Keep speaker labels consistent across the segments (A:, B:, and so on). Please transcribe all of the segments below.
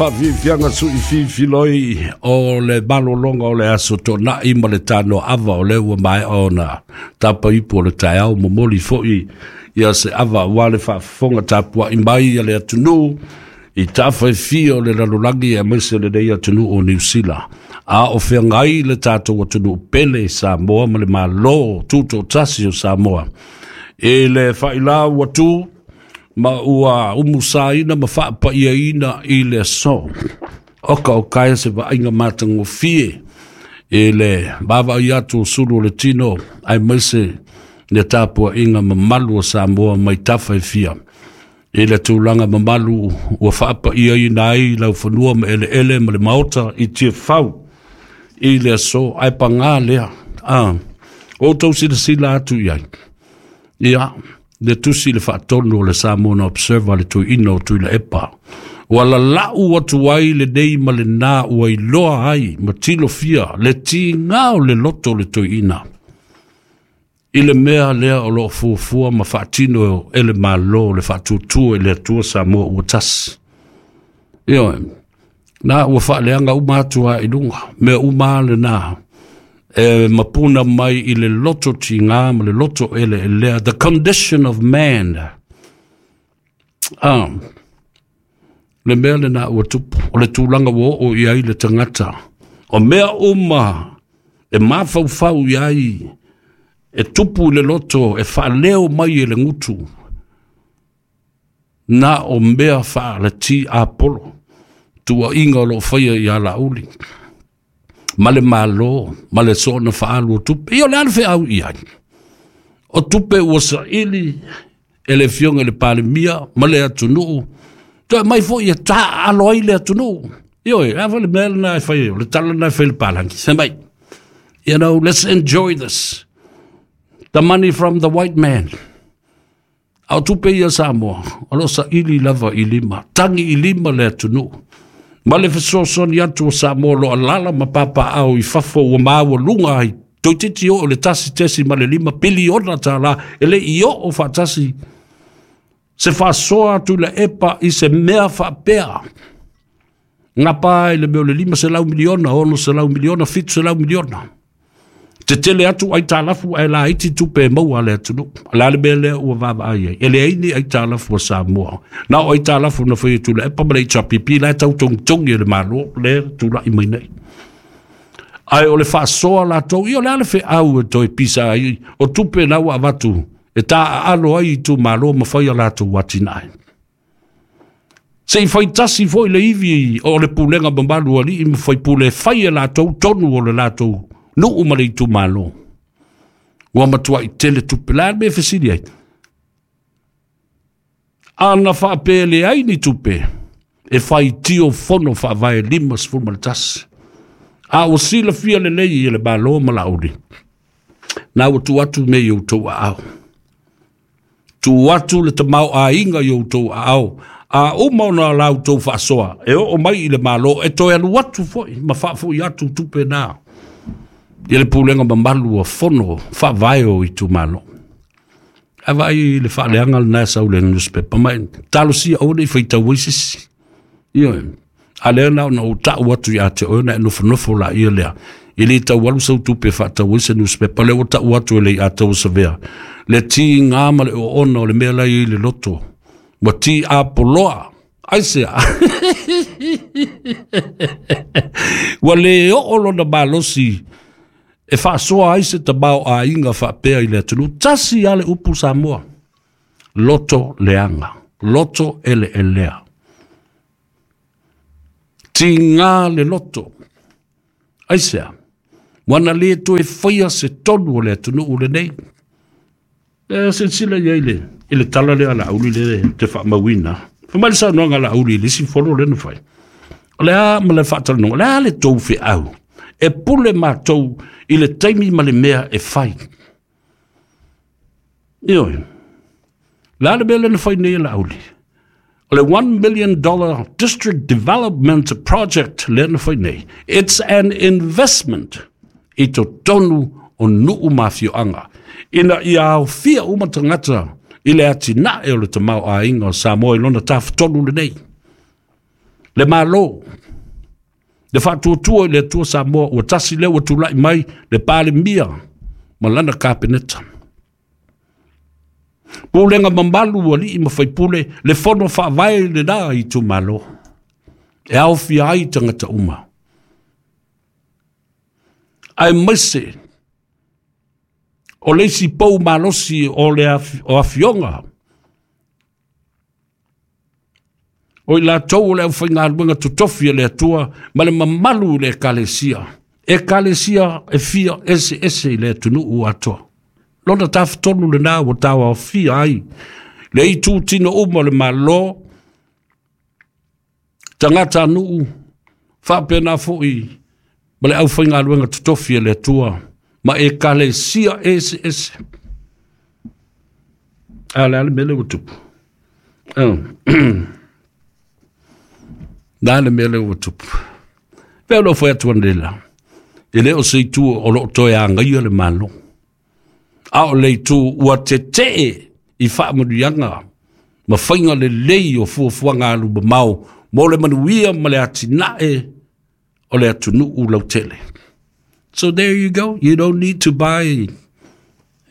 A: Faafiafiaga suʻi o le malologa o le aso Toonai ma le tanoaava o lea ua maea ona tapaipu o le taeao. Momoli foi ia se ava aua le faafofoga tapuai mai a le atunuu i tafa e fia o le lalolagi, aemaise lenei atunuu o Niusila, a o feagai le tatou atunuu pele Samoa ma le Malo Tutoatasi o Samoa i le faailau atu ma ua umusaina ma faapaiaina i le aso. Oka o kaea se vaaiga matagofie i le vaavaai atu o sulu o le tino, aemaise le tapuaiga mamalu o Samoa mai tafa e fia i le tulaga mamalu ua faapaiaina ai laufanua ma eleele ma le maota i Tiafau i le aso. Ae pagā lea, o outou silasila atu i ai ia le tusi le faatonu o le Samoa Observer, le tuiina o Tuilaepa, ua lalau atu ai lenei ma lena ua iloa ai ma tilofia le tiga o le loto o le toeaina i le mea lea o loo fuafua ma faatino e le Malo, le faatuatua i le Atua Samoa ua tasi. Ioe, na ua faaleaga uma atu a i luga mea uma lena e mapuna mai i le loto tiga ma le loto eleelea, the condition of man. Le mea lena ua tupu, o le tulaga ua oo i ai le tagata, o mea uma e mafaufau i ai e tupu i le loto, e faaleo mai e le gutu, na o mea faalati apolo, tuuaiga o loo faia ia Laauli ma le Malo ma le soona faaalu o tupe. Ia o le a le feau i ai? O tupe ua saili e le afioga i le Palemia ma le atunuu, toe mai foi e taaalo ai le atunuu. Ioe, a foi le mea lena e fai, o le tala lena e fai le palagi. Fai mai, you know, let's enjoy this. The money from the white man. A o tupe ia Samoa, o lo saili lava i lima, tagi i lima le atunuu. Ma le fesoasoani atu o Samoa lo alala ma papaao i fafo ua maua ai. Toeitiiti oo le 1.5 piliona tala e le i oo faatasi se faasoa atu le epa i se mea faapea. Ngapa i le mea o le 500 miliona, 600 miliona, 700 miliona. Tetele atu aitalafu ae laiti tupe e maua a le atunuu. O le a le mea lea ua vaavaai ai? E leai ni aitalafu a Samoa. Na o aitalafu na fai atu le epa ma le HRPP la e tau togitogi e le Malo le tulai mai nei. Ae o le faasoa latou, ia o le a le feau e toe pisa ai? O tupe na ua avatu e taaalo ai itumalo ma fai a latou atinae. Se i faitasi foi le ivi o le pulega mamalu a alii ma faipule e fai e latou tonu o le latou nuu ma le itumalo. Ua matuai tele tupe. Le a le mea e fesili ai? Ana faapea leai ni tupe e faitio fono faavae 51. A ua silafia lelei e le Malo ma Laauli, na ua tuu atu mea i outou aao. Tuu atu le tamaoaiga i outou aao. A uma ona la outou faasoa, e oo mai i le Malo, e toe alu atu foi ma faafoi atu tupe na i le pulega mamalu o fono faavae o itumalo. Ae vaai le faaleaga lena e sau le newspaper mai, talosia aua ne i faitau ai sisi. Ioe. A lea na ona ou tau atu ia te oe ona e nofonofo laia lea. E le tau alu sau tupe e faatau ai se newspaper, lea ua tau atu e le i ataua savea. Le tiga ma le oona o le mea la i le loto. Ua ti apoloa. Aisea? Ua le oo lona malosi e faasoa ai se tamaoaiga faapea i le atunuu. Tasi lava le upu Samoa. Loto leaga, loto eleelea. Tiga le loto. Aisea? Ua na le toe faia se tonu o le atunuu lenei. E silasila i ai i le tala lea a Laauli le te faamauina. Fai mai le saunoaga a Laauli i le isi fono lea na fai. O le a ma le faatalanoaga, o le a le tou feau? E pule matou i le taimi ma le mea e fai. Ioe. Le a le mea lea na fai nei e Laauli? O le $1 million district development project lea na fai nei. It's an investment i totonu o nuu ma afioaga. Ina ia aofia uma tagata i le atinae o le tamaoaiga o Samoa i lona tafatolu lenei. Le Malo, le Faatuatua i le Atua Samoa, ua tasi lea ua tulai mai le Palemia ma lana Kapeneta. Pulega mamalu alii ma faipule, le fono faavae lena itumalo, e aofia ai tagata uma. Aemaise o le isi pou malosi o le o afioga, o i latou o le aufaigaluega totofi a le Atua ma le mamalu i le Ekalesia, Ekalesia e fia eseese i le atunuu atoa. Lona tafatolu lena ua tauaofia ai le itutino uma o le Malo, tagatanuu, faapena foi ma le aufaigaluega totofi a le Atua ma Ekalesia eseese. A o le a le mea lea ua tupu? Na le mea lea ua tupu. Pe o lou fai atu analeila, e le o se itu o loo toe agaia le Malo, a o le itu ua tetee i faamanuiaga ma faiga lelei o fuafuaga alumamao mo le manuia ma le atinae o le atunuu lautele. So there you go. You don't need to buy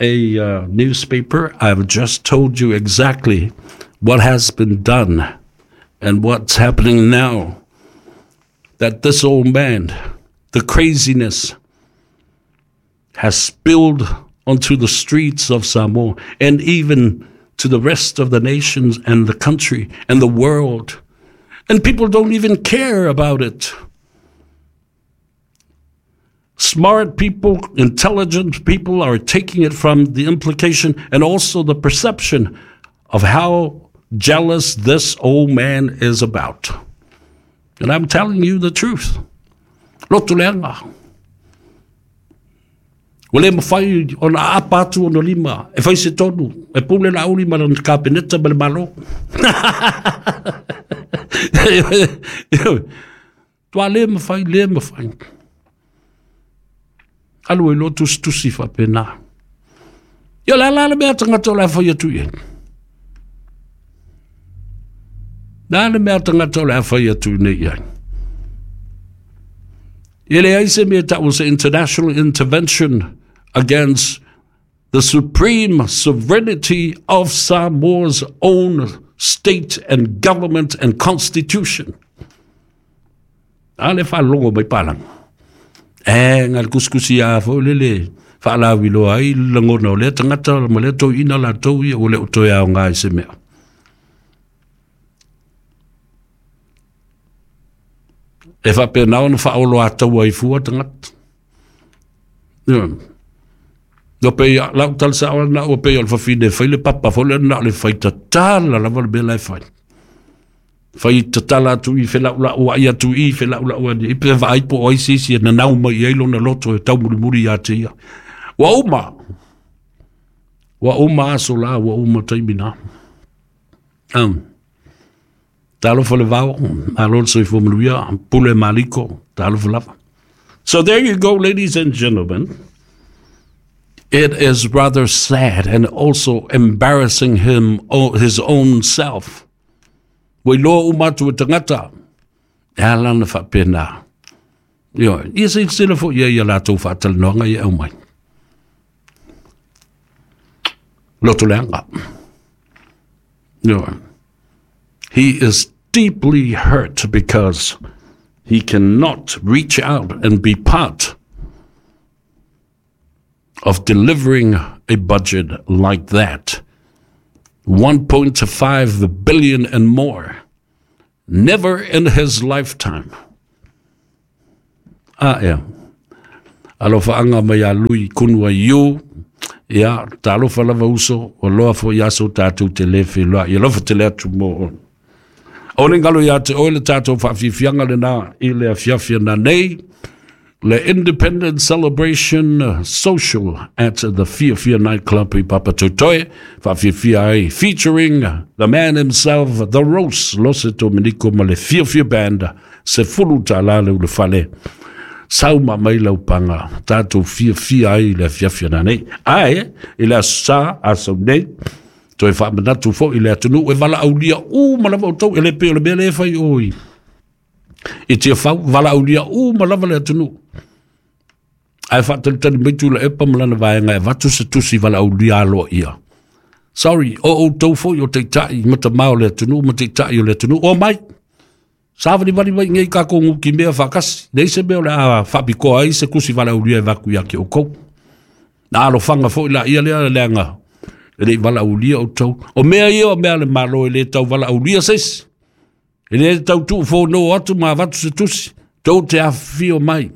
A: a newspaper. I've just told you exactly what has been done and what's happening now. That this old man, the craziness, has spilled onto the streets of Samoa and even to the rest of the nations and the country and the world. And people don't even care about it. Smart people, intelligent people are taking it from the implication and also the perception of how jealous this old man is about. And I'm telling you the truth. Loto leaga. Ua le mafai ona aapa atu ona lima e fai se tonu, e pule Laauli ma lana Kapeneta ma le Malo. Tua le mafai, le mafai. Alu ai loa tusitusi faapena. Ia o le a la le mea tagata o le a fai atu i ai? Le a le mea tagata o le a fai atu nei i ai? E leai se mea tau se international intervention against the supreme sovereignty of Samoa's own state and government and constitution. A le faalogo mai palang. E nga le kusikusi a fo lele faalawiloa ai le lagona o lea tagata ma lea toeaina latou ia ua le o toe aoga i se mea. E faapena ona faaoloataua ai fua tagata. No pei lau tala sao na ua pei o le fafine e fai le papa foi lea na o le fai tatala lava le mea la e fai. Fai tatala atu i felaulau ai atu i felaulau ai i pe vaai po o ai se isi e nanau mai i ai lona loto e taumulimuli ia te ia. Ua uma. Ua uma aso la, ua uma taimi na. Talofa le vao, malo le soifua manuia, pule maliko, talofa lava. So there you go, ladies and gentlemen. It is rather sad and also embarrassing him, his own self. Ua iloa uma atu e tagata, e ala ona faapena. Ioe, ia silasila foi i ai i a latou faatalanoaga ia e aumai. Loto leaga. Ioe. He is deeply hurt because he cannot reach out and be part of delivering a budget like that. 1.5 billion and more. Never in his lifetime. A ea. Alofaanga mai ia Lui Kunua Yu. Ia, talofa lava uso, ua loa foi aso tatou te le feiloai. Alofa tele atu mo oe. O le galo ia te oe le tatou faafiafiaga lena i le afiafi ana nei, le Independence Celebration Social at the Fiafia Nightclub i Papatoetoe, faafiafia ai featuring the man himself, The Rose, Lose Domenico ma le Fiafia Band, $10 le ulufale. Sau ma mai lau paga, tatou fiafia ai i le afiafi ana nei. Ae, i le Aso Sa, aso nei, toe faamanatu foi i le atunuu e valaaulia uma lava outou, e le pei o le mea lea e fai o i. I Tiafau, valaaulia uma lava le atunuu. Ae faatalitali mai Tuilaepa ma lana vaega e avatu se tusi valaaulia aloaia. Sorry, o outou foi o taitai ma tamā o le atunuu ma taitai o le atunuu, omai. Savalivali mai nei tatou nutimea faatasi. Leai se mea o le a faapitoa ai se tusi valaaulia e avatu ia te outou. Na alofaga foi laia lea leaga e le i valaaulia outou. O mea ia o mea a le Malo e le tau valaaulia se isi. E le tau tuufono atu ma avatu se tusi. Tou te afifio mai.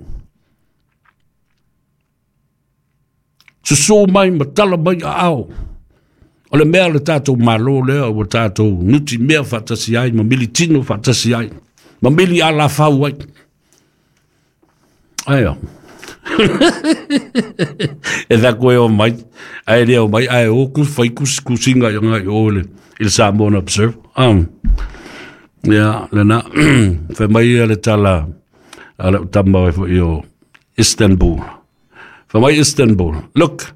A: Susu mai ma tala mai aao. O le mea le tatou Malo lea ua tatou nutimea faatasi ai ma militino faatasi ai ma mili alafau ai. Aia. E tā koe o mai, ai lea o mai, ai o ku whai kusinga i ngai o le, i le Samoan Observer. Ia, lena, whai mai ia le tala a le tama o i o Istanbul. Whai mai Istanbul. Look,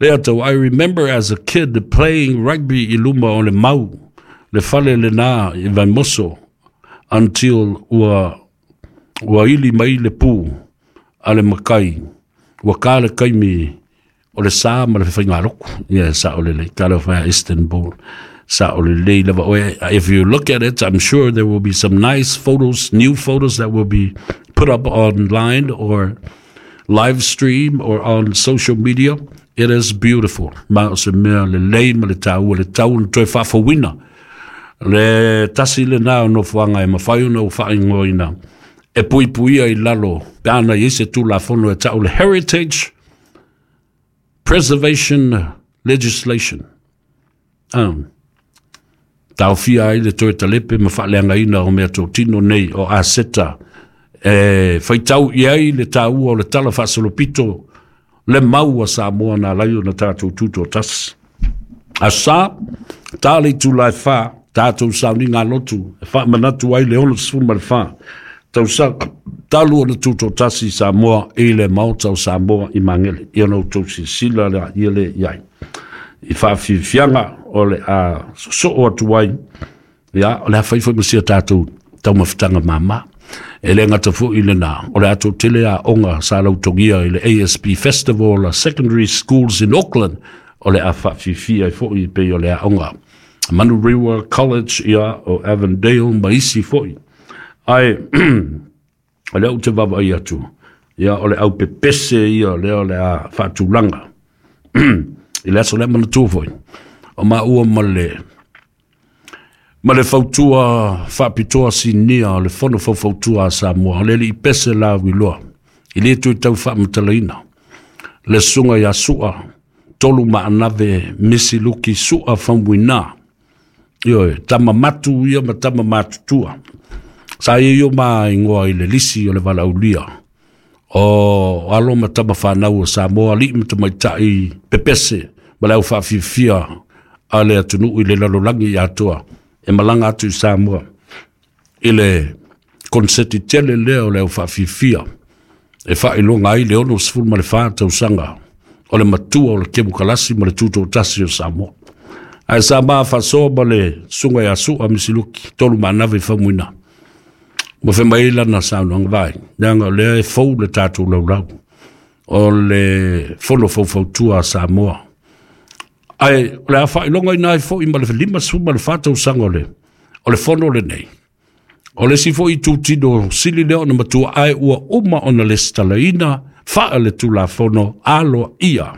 A: lea tau, I remember as a kid playing rugby i luma o le mau, le fale le nā i Vaimoso, until ua ili mai le pu a le makai, ua ka le kaimi o le sa ma le whaingaroko. Yeah, sa o le lei, ka leo whaia Istanbul. Sa o le lei lava oe. If you look at it, I'm sure there will be some nice photos, new photos that will be put up online or live stream or on social media. It is beautiful. Ma o se mea le lei ma le tāua le tau na toe whaafawina. Le tasi le nā o nofoanga e mawhai ona o whaingoina. E pui puia i lalo, pe ana i se tūlafono e tau le Heritage Preservation Legislation. Taofia ai le toe talepe ma faaleagaina o mea tōtino nei o aseta e whaitau i ai le tāua o le tala faasolopito le mau a Samoa nā lai o na tātou tūtō tasi. A sa, tā le tū lai whā, tātou sauni ngā lotu, e wha manatu ai le 64, tausaga talu ona tūtō tasi Samoa i le maota o Samoa i Magele. Ia na outou silasila le ia le iai. I whaafiafiaga o le a sosoo atu ai, ia, o le a whai ma sia tātou taumafataga māmā. E le ngata foi le nā, o le ato tele a onga sa lautogia i le ASB Festival a Secondary Schools in Auckland, o le a whaafifia i foi pe o le a onga. Manurewa College ia o Avondale ma isi foi. Ai, o le au te vava i atu, ia o le au pepese ia lea o le a whaatulanga. I le aso le mana foi. O ma ua ma le fautua faapitoa sinia o le fono faufautua a Samoa, o le alii Pese Lauiloa, i le tui tau faamatalaina. Le susuga ia Su'a, Tolu Maanave Misiluki Su'a Faumuina. Ioe, tama matu ia ma tama matutua. Sa ia io ma ingoa i le lisi o le valaaulia. O alo ma tama whanau o Samoa, alii ma tamaitai pepese, ma le au whaafifia a le atunuu i le lalolagi i atoa, e malaga atu i Samoa. I le konseti tele lea o le au whaafifia, e whailonga ai le 64 tausaga o le matua o le kemukalasi ma le tūtōtasi o Samoa. Ae sa ma whasoa ma le sunga ia Su'a Misiluki, Tolu Maanave Faumuina. Ma whe mai lana saunoaga vai. Leaga o lea e fou le tātou laulau. O le fono faufautua a Samoa. Ae o le a whailonga ina ai foi ma le 54 tausaga o le fono lenei. O le si foi tūtino sili lea ona matua ai ua uma ona lesitalaina whaa le tulafono alo ia.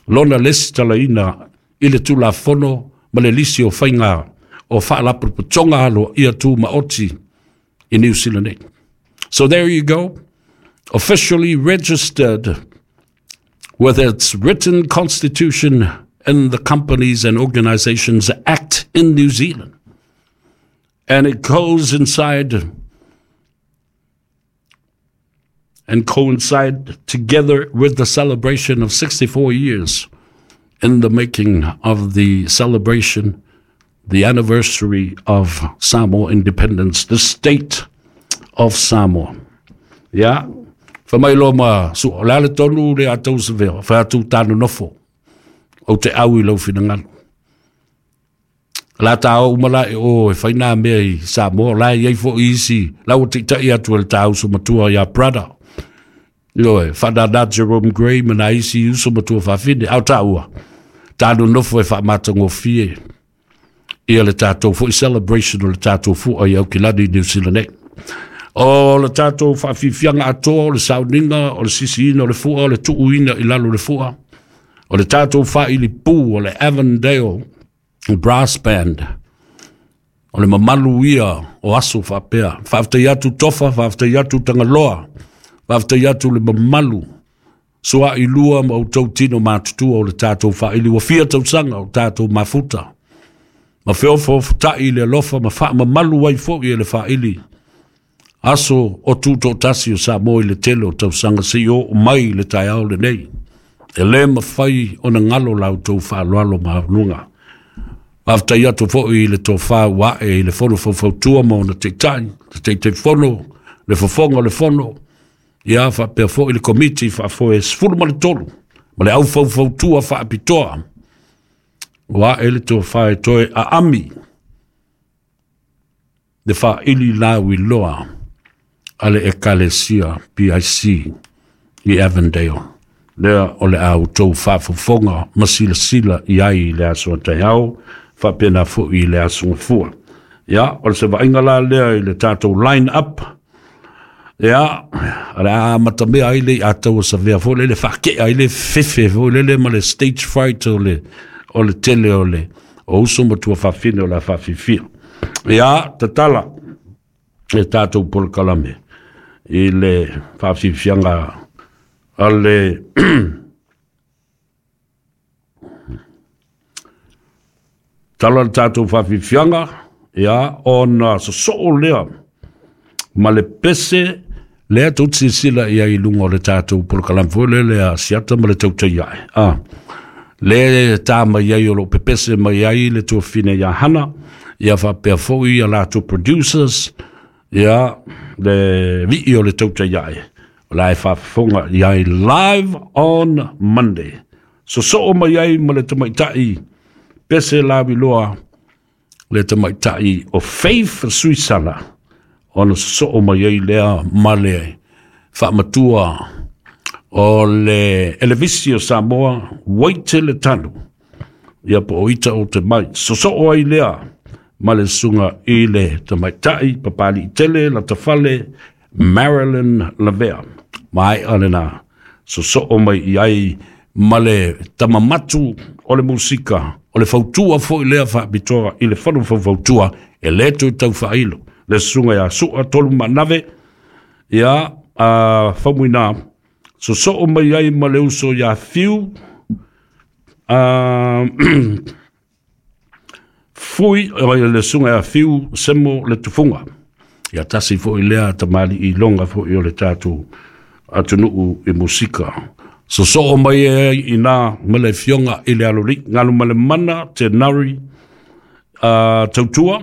A: Lona lesitalaina i le tulafono ma le lisi o whainga o whaalapotopotoga alo ia tū maoti i New Zealand nei. So there you go. Officially registered with its written constitution in the Companies and Organizations Act in New Zealand. And it goes inside and coincide together with the celebration of 64 years in the making of the celebration, the anniversary of Samoa independence, the state of Samoa. Yeah. Fa mai loa ma su, o le ale tonu le a tau se vea, fa atu tānu nofo, o te au i lau finangalo. La ta o uma la e o e fai nā mea i Samoa, la e iai foi isi, la ua taitai atu e le tā uso matua ia brother. Ioe, whanana Jerome Gray ma nā isi uso matua whawhine, au tā ua. Tā nonofo e whaamatagofie ia le tātou foi celebration o le tātou fua i Aukilani, New Zealand nei. O le tātou whaafifianga atoa, o le sauniga, o le sisiina o le fua, o le tuuina i lalo le fua, o le tātou whaili pū, o le Avondale Brass Band, o le mamalu ia o aso whaapea. Whaaftai atu tofa, whaaftai atu tangaloa, whaaftai atu le mamalu, soa i lua ma o tau tino mātutua o le tātou whaili, ua fia tausanga o tātou mafuta. Ma feofo tai le alofa, ma wha mamalu ai fo i le whaili. Aso o tūtō tasi o Samoa i le tele o tausanga se i o mai le taeao lenei. E le mawhai o na ngalo lau tau whaaloalo mahaulunga. Whaftai atu foi i le tōwhā wae i le fono faufautua ma ona teitai, te teitai fono, le fofonga o le fono, ia whapea foi le komiti whaafoe 13, ma le au faufautua whaapitoa. Wae le tōwhā e toe a ami, le whaili lau i loa, a le Ekalesia PIC i Avondale. Lea o le au tau whaafofonga ma silasila i ai i le aso a taeao, whapena foi i le aso ngafua. Ia, o le se vainga la lea i le tātou line up. Ia, o le a matamea ai le i ataua savea foi le le whakea ai le fefe foi le le ma le stage fright o le tele o le o uso matua whawhine o la whawhiwhia. Ia, tatala e tātou polokalame i le whawhiwhianga a le tala le tātou whawhiwhianga, ia, ona sosoo lea ma le pese lea tau sisila ia i lunga o le tātou polokalame foi le lea siata ma le tautai ae. Ah, le tā mai ai o lo pepese mai ai le tuafine ia Hana, ia whapea foi ia lātou producers, ia le vii o le tautai ae. O la e whaafonga i ai live on Monday. Sosoo mai ai ma le tamaitai pese lawiloa le tamaitai o Faith Suisala. Ona sosoo mai ai lea ma le whaamatua o le Elevisi o Samoa, Waite le tanu. Ia po o ita o te mai. Sosoo ai lea ma le sunga i le tamaitai papali i tele la tafale Marilyn Lavea. Mai alena sosoo mai i ai ma le tamamatu o le musika, o le fautua foi lea whaapitoa i le whanu faufautua e le tui tau whailo. Le sunga ia sua tolu manave, ia a whamuina, sosoo mai ai ma le uso ia fiu, fui le sunga ia fiu semo le tufunga. Ia tasi foi lea tamali i longa foi o le tātou atunuu i musika. Sosoo mai ai i nā ma le fionga i le aloli. Ngalu ma le mana te nari tautua,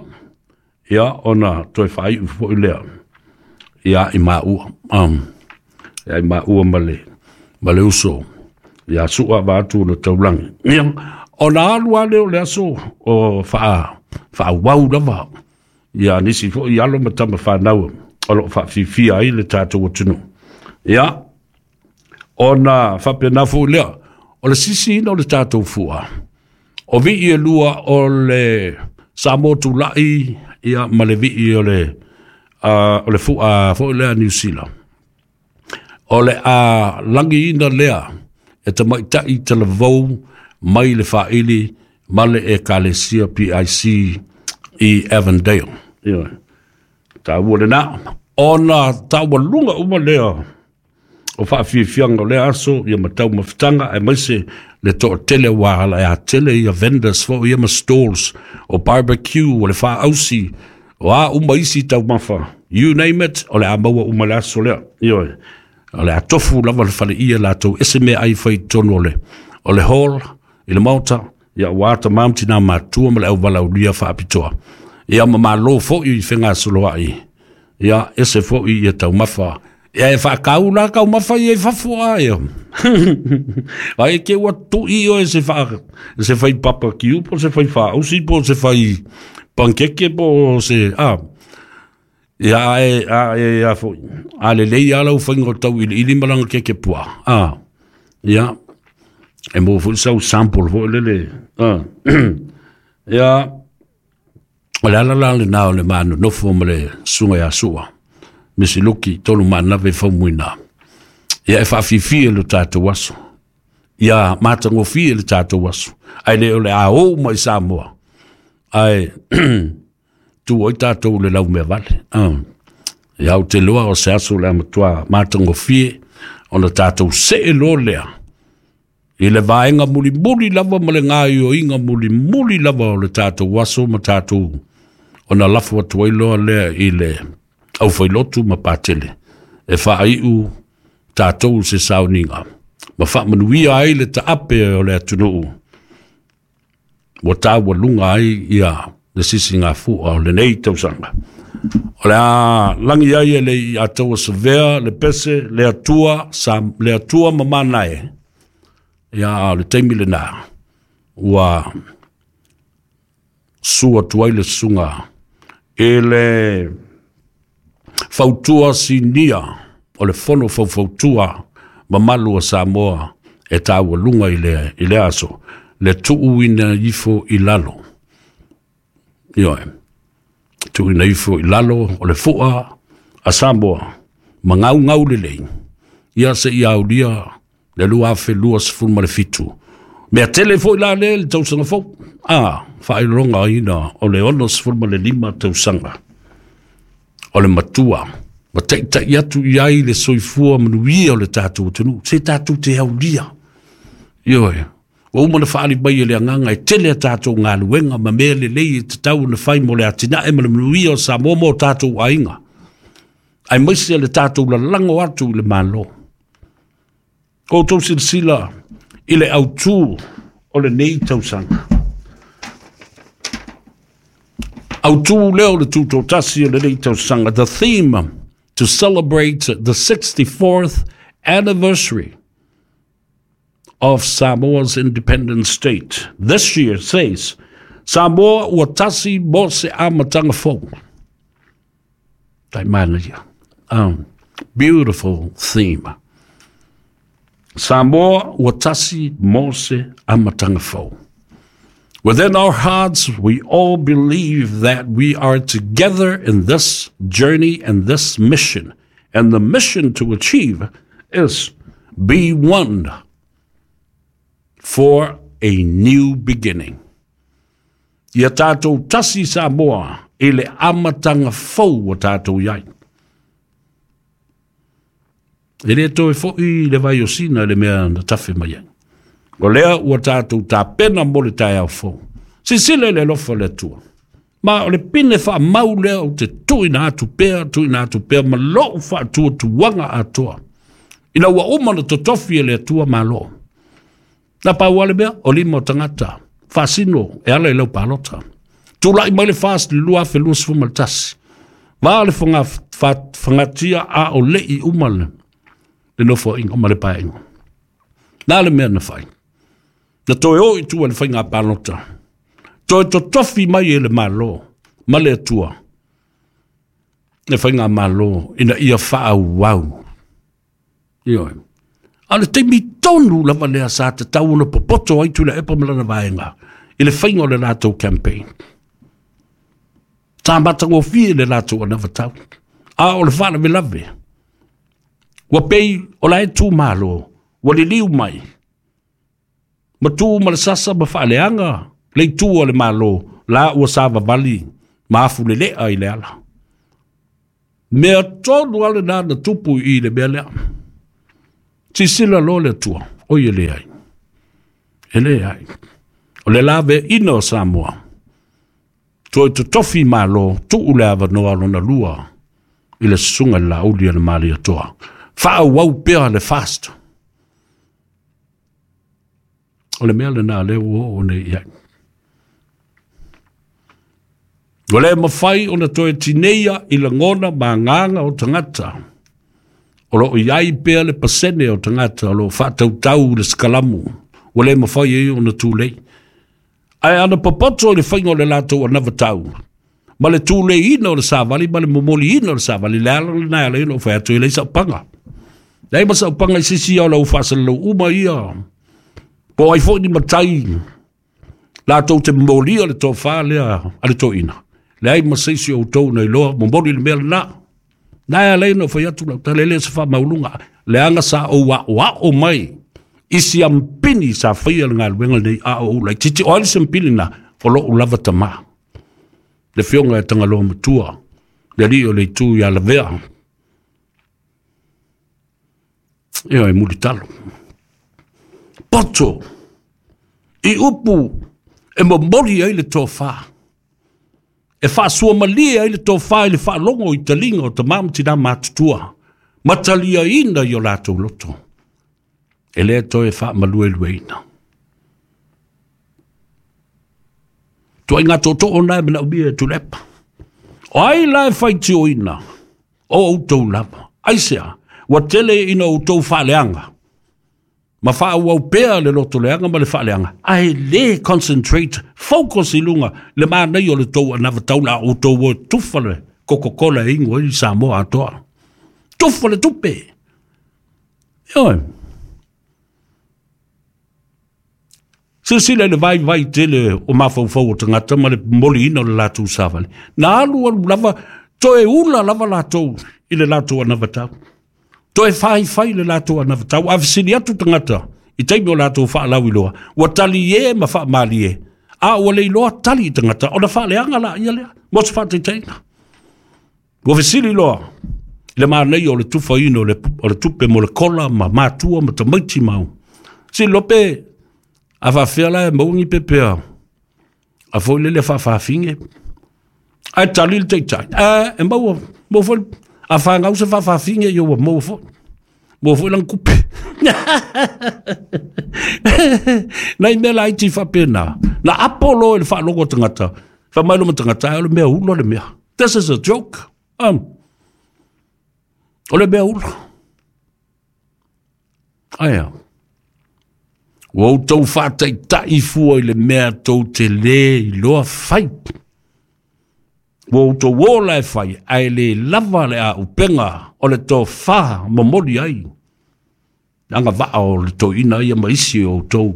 A: ia ona toe whaiu foi lea. Ia i maua. Ia i maua ma le uso. Ia sua vaatu na taulangi. Ia, ona alu ale o le aso o whaawau lava. Ia nisi foi alo ma tama whanau o lo whaafifia ai le tātou atunu. Ia, ona whapena fo lea, o le sisi ina o le tātou fua. O vii e lua o le Samoa Tulai, ia, ma le vii o le fua fo lea New Zealand. O le a langi ina lea, e tamaitai te lavau mai le whaili ma le Ekalesia PIC i Avondale. Ia, tāua le nā. Ona tāua lunga uma lea o whaafiafianga o lea aso, ia matau mawhitanga, e maise le toa tele wahala, e a tele ia vendors fo, ia ma stalls, o barbecue, o le whaausi, o a uma isi tau mawha. You name it, o le a maua uma le aso lea. Ia, o le a tofu lava le whale ia lātou, ese mea ai whai tonu o le hall, i le maota, ia wāta mamti nā mātua ma le au walaulia whaapitoa. Ia ma malo foi i whenga soloai. Ia ese foi ia tau mawha Ia e whaakau la kau mawhai e fafo a eo. Ai ke ua tui o e se wha, se whai papa kiu po se whai whaausi po se whai pankeke po se, a. Ia e, a e a foi. A le lei ala u whainga o tau ili ili malanga keke pua. A. Ia. E mo foi sau sample foi lele. A. Ia. O le ala la lena o le manonofo ma le susuga ia Sua, Misi Luki, Tolumaanave Faumuina. Ia e faafifia lo tatou aso. Ia matagofie le tatou aso. Ae le o le a ou mai Samoa. Ae tu ai tatou le laumea vale. Ia ou te loa o se aso le a matua matagofie ona tatou see loa lea I le vaega mulimuli lava ma le gaoioiga mulimuli lava o le tatou aso ma tatou ona lafo atu ai loa lea i le aufailotu ma patele e faaiu tatou se sauniga ma faamanuia ai le taape o le atunuu ua taualuga ai ia le sisigafua o lenei tausaga. O le a lagi ai e le i ataua savea le pese le Atua sa le Atua ma manae ia o le taimi lena ua sua atu ai le susuga i le fautua sinia o le fono faufautua mamalu o Samoa e taualuga i le, i le aso, le tuuina ifo i lalo. Ioe, tuuina ifo i lalo o le fua a Samoa, ma gaugau lelei, ia se i aulia le 2027. Mea tele foi la lea i le tausaga fou. A, faailogaina o le 65 tausaga o le matua ma taitai atu i ai le soifua manuia o le tatou atunuu, se tatou te aulia. Ioe, ua uma ona faaali mai e le agaga e tele a tatou galuega ma mea lelei e tatau ona fai mo le atinae ma le manuia o Samoa ma o tatou aiga, aemaise le tatou lalago atu i le Malo. Outou silasila i le autu o lenei tausaga. Autu lea o le tutoatasi o lenei tausaga, the theme to celebrate the 64th anniversary of Samoa's independent state. This year says, Samoa ua tasi mo se amataga fou. Tai manaia. Beautiful theme. Samoa ua tasi mo se amataga fou. Within our hearts, we all believe that we are together in this journey and this mission. And the mission to achieve is be one for a new beginning. Ia tātou tasi Samoa i le amatanga fou ua tātou i ai. E le toe foi le vai o Sina le mea na tafe mai ai. O lea ua tātou tapena mo le taeao fou. Sisile le alofa o le Atua. Ma o le pine faamau lea ou te tuuina atu pea, tuuina atu pea ma lou faatuatuaga atoa. Ina ua uma ona totofi e le Atua Malo. Na pau lava le mea, o lima o tagata faasino e ala i lau palota. Tulai mai le FAST i le 2021. Va le fagatia a o lei uma le nofoaiga ma le paeaiga. Na le mea na fai. Na toe o i tua le faiga palota. Toe totofi mai e le Malo ma le Atua le faiga malo ina ia faaauau. Ioe. A o le taimi tonu lava lea sa tatau ona popoto ai Tuilaepa ma lana vaega i le faiga o le latou campaign. Sa matagofie le latou anavatau. A o le faalavelave, ua pei o la e tu malo, ua liliu mai, ma tu ma le sasa ma faaleaga le itu o le Malo, la ua savavali ma afulelea i le ala. Mea tonu lava lena na tupu i le mea lea. Sisila loa le Atua, oi e leai, e leai. O le laveaiina o Samoa, toe totofi Malo, tuu le avanoa lona lua i le susuga i le Laauli a le Malietoa. Faaauau pea le fast. O le mea lena lea ua oo nei i ai. Ua le mafai ona toe tineia i lagona ma agaga o tagata. O loo i ai pea le pasene o tagata o loo faatautau le sikalamu ua le mafai ai ona tulei. Ae ana popoto i le faiga o le latou anavatau ma le tuleiina o le savali ma le momoliina o le savali, le ala lena e ala ai ona ou fai atu e leai sau paga. Leai ma sau paga i se isi o lau faasalalau uma ia. Po o ai foi ni matai latou te momolia le tofa lea a le toeaina. Leai ma se isi o outou na iloa momoli le mea lena. Na e ala ai ona ou fai atu lau tala, e le o se faamaualuga, leaga sa ou aoao mai i siampini sa faia le galuega lenei a o ou laitiiti. O ai le siampini lena? O lou lava tama, le afioga ia Tagaloa Matua, le alii o le itu ia Lavea. Ioe, e mulitalo. Poto i upu e momoli ai le tofa, e faasuamalie ai le tofa i le faalogo i taliga o tama ma tina matutua, ma taliaina i o latou loto, e le toe faamaluelueina. Tuaiga tootoo na e manaomia e Tuilaepa. O ai la e faitioina o outou lava? Aisea, ua tele ina outou faaleaga ma faaauau pea le lotoleaga ma le faaleaga, ae le concentrate, focus i luga le manaia o le tou anavatau la outou o tufa le Coca-Cola e inu ai Samoa atoa. Tufa le tupe. Ioe. Silasila i le vaivai tele o mafaufau o tagata ma le momoliina o le latou savali. Na alu alu lava, toe ula lava latou i le latou anavatau. Toe faifai le latou anavatau. A fesili atu tagata i taimi o latou faalauiloa, ua talie ma faamalie, a ua le iloa tali i tagata, ona faaleaga la ia lea, mo se faataitaiga. Ua fesili loa i le manaia o le tufaina o le tupe mo le kola ma matua ma tamaiti mau. Fesili loa pe a faafefea la e maua ni pepe a foi lele faafaafine. Ae tali le taitai, e maua, maua foi, a fanau se faafaafine, ia ua maua foi. Maua foi lana tupe. Nai mea laiti faapena. Na apo loa i le faalogo a tagata, fai mai loma tagata, ai o le mea ula le mea. This is a joke. O le mea ula. Aia. Ua outou faataitai fua i le mea tou te le iloa fai. Ua outou ola e fai, ae le lava le aupega o le tofa momoli ai. Agavaa o le toeaina ia ma isi o outou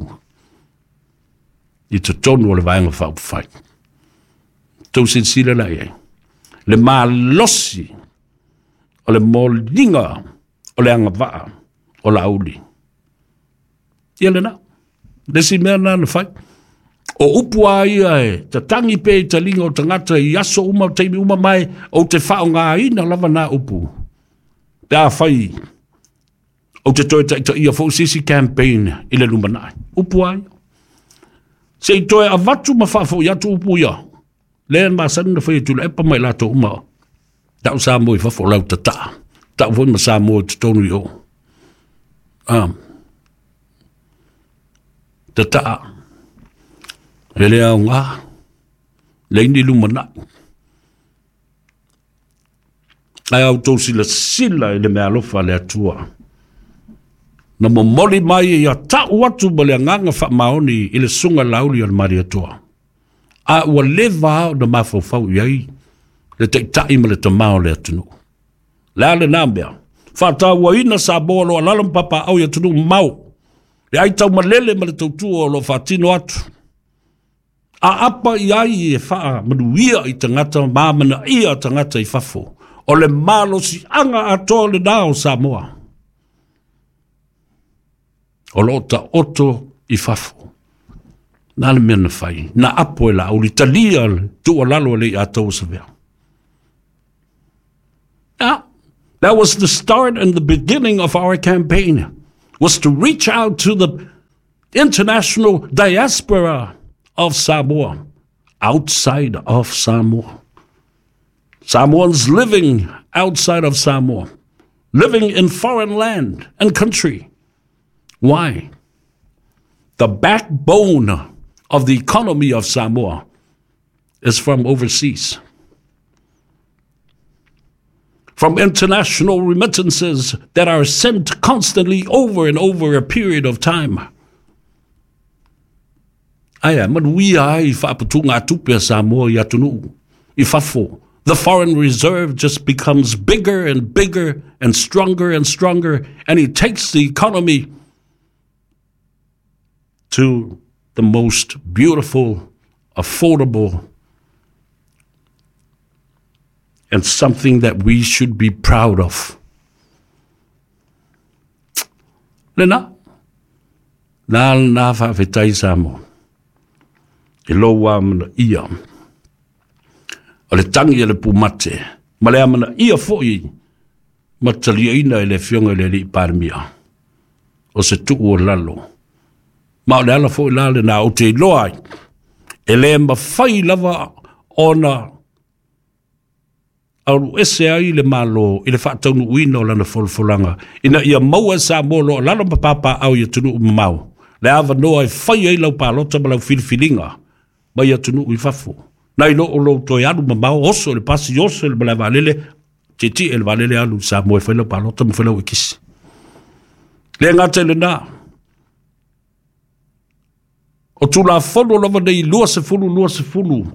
A: i totonu o le Vaega Faaupufai. Tou silasila la i ai. Le malosi o le moliga o le agavaa o Laauli. Ia lena. Le isi mea lena na fai. O upu a ia e tatagi pea i taliga o tagata i aso uma, o taimi uma mai, ou te faaaogaina lava na upu. Pe a fai, ou te toe taitaia foi se isi campaign i le lumanai. Upu a ia. Se i toe avatu ma faafoi atu upu ia. Lea na masani na fai e Tuilaepa ma i latou uma. Tau Samoa i fafo o lau tataa. Tau foi ma Samoa i totonu i o. Tataa. E le aoga. Leai ni lumanai. Ae a outou silasila i le meaalofa a le Atua, na momoli mai ia tau atu ma le agaga faamaoni i le susuga Laauli o le Malietoa, a ua leva lava ona mafaufau i ai le taitai ma le tama o le atunuu. Le a lena mea? Faatauaina Samoa o lo o alaala ma papaaao i atunuu mamao, le ai taumalele ma le tautua o lo o faatino atu. Aapa i ai e faamanuia i tagata ma amanaia tagata i fafo. O le malosiaga atoa lena o Samoa o lo o taoto i fafo. Na le mea na fai, na apo e Laauli, talia le tuualalo a le Ataua Savea. Yeah, that was the start and the beginning of our campaign, was to reach out to the international diaspora of Samoa, outside of Samoa. Samoans living outside of Samoa, living in foreign land and country. Why? The backbone of the economy of Samoa is from overseas. From international remittances that are sent constantly over and over a period of time. Ae a manuia ai faaputugatupe a Samoa i atunuu i fafo. The foreign reserve just becomes bigger and bigger and stronger and stronger, and it takes the economy to the most beautiful, affordable, and something that we should be proud of. Lena, na na faafetai Samoa i lou amanaia o le tagi a le pumate ma le amanaia foi ma taliaina e le Afioga i le Alii Palemia o se tuu o lalo. Ma o le ala foi la lena ou te iloa ai, e le mafai lava ona aluese ai le Malo i le faataunuuina o lana folafolaga ina ia maua e Samoa o lo o lalo ma papaaao i atunuu mamao le avanoa e fai ai lau palota ma lau filifiliga mai atunuu i fafo, nai lo o lou toe alu mamao, oso i le pasi, oso i le malae vaalele, tietie i le vaalele alu i Samoa e fai lau palota ma fai lau ekisi. Le gata i lena, o Tulafono lava nei 2020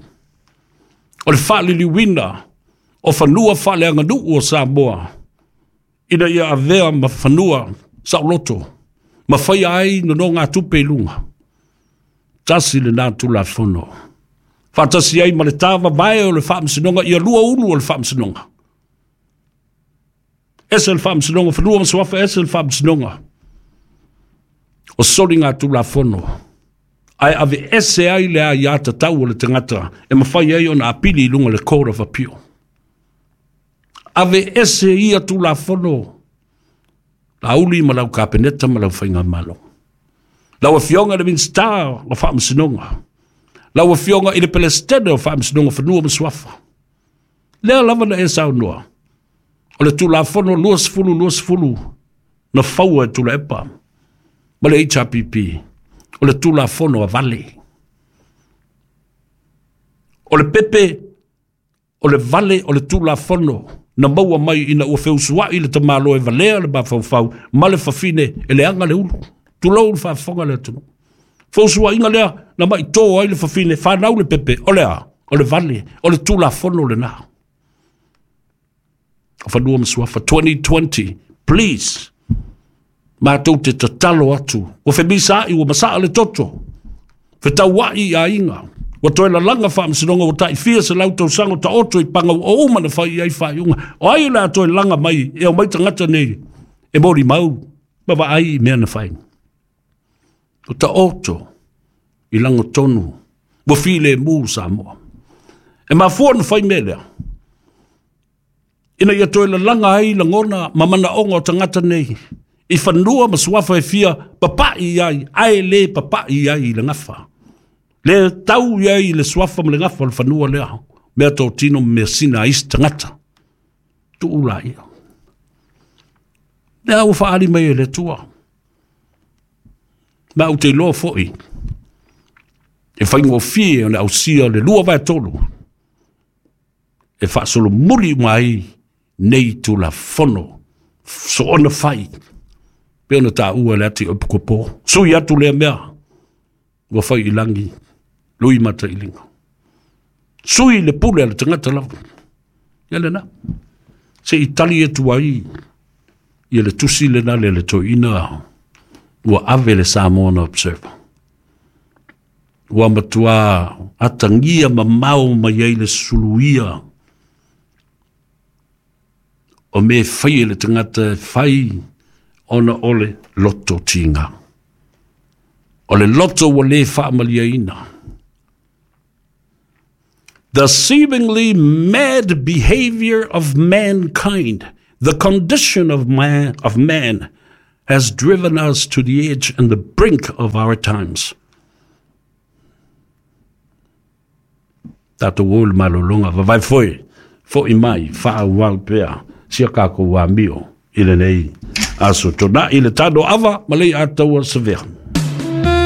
A: o le faaliliuina o fanua faaleaganuu o Samoa ina ia avea ma fanua saoloto ma faia ai nonogatupe i luga. Tasi lena Tulafono. Faatasi ai ma le tāvavae o le Faamasinoga ia lua ulu o le Faamasinoga. Ese le Faamasinoga Fanua ma Suafa, ese le Faamasinoga o Soligatulafono. Ae aveese ai le aiatatau o le tagata e mafai ai ona apili i luga o le Court of Appeal. Aveese ia Tulafono, Laauli ma lau Kapeneta ma lau Faigamalo. Lau Afioga i le Minisita o Faamasinoga, lau Afioga i le Pelesitene o Faamasinoga Fanua ma Suafa, lea lava na e saunoa, o le Tulafono 2020 na faua e Tuilaepa ma le HRPP, o le Tulafono a vale. O le pepe, o le vale o le Tulafono na maua mai ina ua feusuai le tamaloa e valea le mafaufau ma le fafine e leaga le ulu. Tulou le faafofoga le atunuu. Feusuaiga lea na maitō ai le fafine, fanau le pepe, o le a? O le vale, o le Tulafono lena. O Fanua ma Suafa 2020, please, matou te tatalo atu, ua femisaai, ua masaa le toto, fetauai i aiga, ua toe lalaga faamasinoga, ua taifia 100 tausaga o taoto i paga ua uma na fai i ai faaiuga. O ai o le a toe laga mai e omai tagata nei e molimau ma vaai i mea na fai. O taoto i lagotonu, ua filemu Samoa. E mafua na fai mea lea, ina ia toe lalaga ai lagona ma manaoga o tagata nei i fanua ma suafa e fia papai ai, ae le papai ai i le gafa. Le tau i ai i le suafa ma le gafa o le fanua lea, mea totino ma mea sina a isi tagata. Tuu laia. Lea ua faaali mai e le Atua. Ma ou te iloa foi, e faigofie ona ausia le 2/3 e faasolomuli uma ai nei Tulafono soona fai pe ona taua le ati o Pukopo. Sui atu lea mea ua fai i lagi lui matailiga. Sui le pule a le tagata lava. Ia lena. Se i tali atu ai ia le tusi lena le le toeaina ua ave le Samoan Observer. Ua matua atagia mamao mai ai le suluia o me fai e le tagata e fai ona o le loto tiga. O le loto ua le faamaliaina. The seemingly mad behavior of mankind, the condition of man, has driven us to the edge and the brink of our times. Tatou o le malologa, vavae foi, foi mai, faaauau pea, sia kākou amio i lenei aso. Tonai le tano ava, ma lei ataua savea.